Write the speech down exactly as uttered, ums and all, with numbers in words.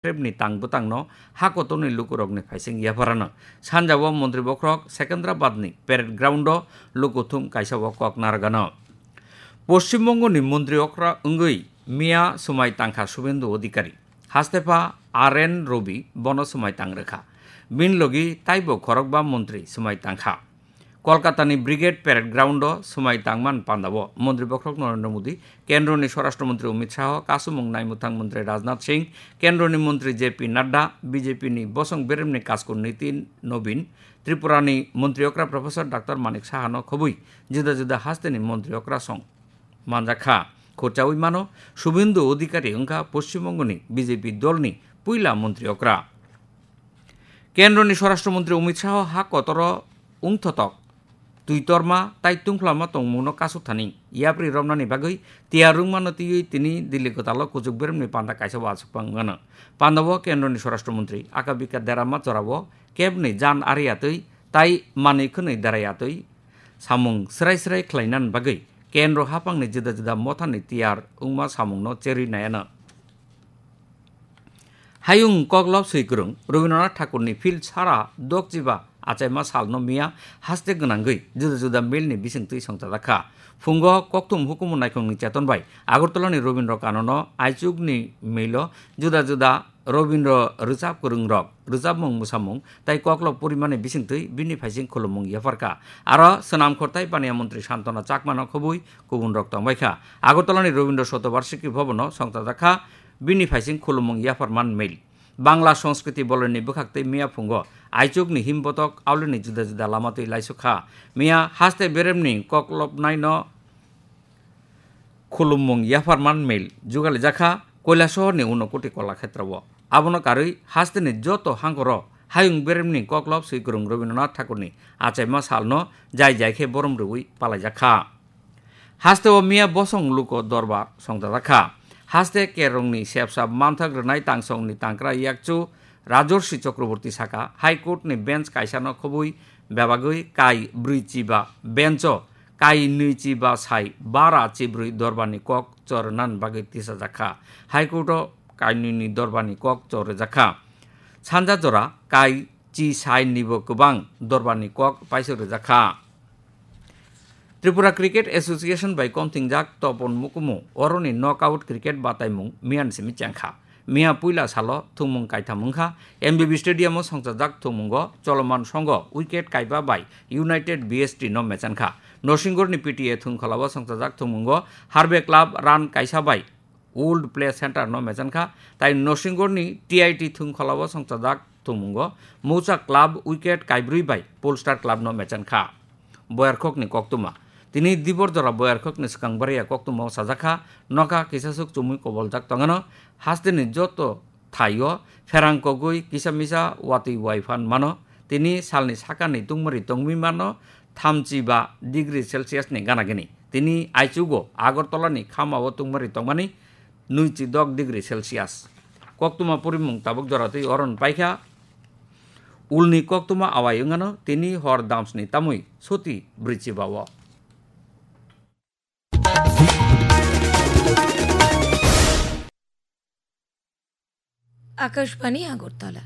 Trepni tang bwtangno ha kotorni lukurokni phaising yapharano. Sanjao montri bokhorok Secunderabadni parade ground-o lukuthum kaisa o kok narwgano. Poschim Bongoni montri okra wngwi miya swmai tangkha Subhendu Odhikari. Hastepha R N Robi bono swmai tang rwkha. Bini logi taibo khorokba montri swmai tangkha. Kolkatani Brigade Parade Ground-o swmai tangman pandao montri bokhorok Narendra Modi, Kendroni Swarashtra Montri Amit Shah, kasumung naimwthang montri Rajnath Singh, Kendroni montri J P Nadda, B J P ni bosong beremni kasku Nitin Nobin, Tripurani montri okra Professor Doctor Manik Sahano khobwi juda juda hasteni montri okra song manjakha. Khorchaui mano, Subhendu Odhikari wngkha Poschim Bongoni B J P dolni puila montri okra. Kendroni Swarashtra Montri Amit Shah ha kotoro wngthotok twi torma tai tungphlama tongmungno kasuk thani yapri romnani bagwi tiyar wngmano twiwi tini Delhi kwtalo kuchuk beremni panda kaisa o achukma wngmano. Pandao Kendroni Swarashtra Montri Aka Bika Derama jorao kebni jan ari atwi tai manwi khwnwi derai atwi samung srai srai khlainani bagwi kendro haphangni juda juda mothani tiyar wngma samungno cherwi naiano. Hayung koklop swikwrwng Rabindranath Thakurni field sara dokchiba achaima salno miya haste gwnangwi juda juda mailni bisingtwi songchajak kha. Phungo kokthum hukumu naikhungni cheton bai Agartalani Rabindra Kanono aichukni mailo juda juda Rabindra rwchap kwrwngrok rwchapmung mwsamung tai koklop porimani bisingtwi bini phaising khulummung yapharkha. Aro swnam khortai paniya montri Santana Chakmano khobwi kubunrok tongbaikha. Agartalani Rabindra Shatobarshiki Bhavanno songchajak kha bini phaising khulummung yapharman mail. Bangla Sanskriti Boloni bwkhaktwi miya phungo aichukni himbotok aulini juda juda lama twi laisuk kha. Miya haste beremni koklopnaino khulummung yapharman mail jugalijak kha Koilasohorni Unokoti Kolakshetra o. Abono karwi hasteni joto hangkoro hayung beremni koklop swikwrwng Rabindranath Thakurni achaima salno jai jai khe borom rwui palaijak kha. Hasteo miya bosong luko dorbar songchajak kha. Haste kerongni sepsa manthak rwnai tangsongni tangkra yakchu Rajorshi Chakraborty saka, High Court ni bench kaisano khobwi bebagwi kai brwi chiba bench o kai nwi chiba sai bara chibrwi dorbarni kok chornan bagwi tisajak kha. High Court o kai nwi ni dorbarni kok chorjak kha. Sanja jora kai chi sai nibo kwbang dorbarni kok paisok rwjak kha. Tripura Cricket Association bai komthingjak Topon Mukumu oroni knockout cricket bataimung miyan simi chengkha. Miya puila salo thwngmung kaitham wngkha. M B B Stadium o songchajak thwngmungo choloman songo wicket kaiba bai United B S T no mechankha. Nosingorni P T A thwngkholao songchajak thwngmungo Harbe Club run kaisa bai Old Play Center no mechankha, tai Nosingorni T I T thwngkholao songchajak thwngmungo Moucha Club wicket kaibrwi bai Polestar Club no mechankha. Boyarkhokni koktwma. Tini dibor jora Boyarkhokni swkang bariya koktwmao sajakha, nokha kisaswk chumui koboljak tongano, hasteni joto thaio pherang kogwi kisa misa watwi wai phan mano. Tini salni sakani tungmari tongwi mano thamchi ba degree Celsius ni gana gini. Tini aichugo Agartala ni khama o tungmari tongmani nwichi dok degree Celsius. Koktwma porimung tabuk jora twi oron paikha. Ulni koktwma awai wngano tini hor damsni tamwi soti brwichi ba o. Akashbani Agartala.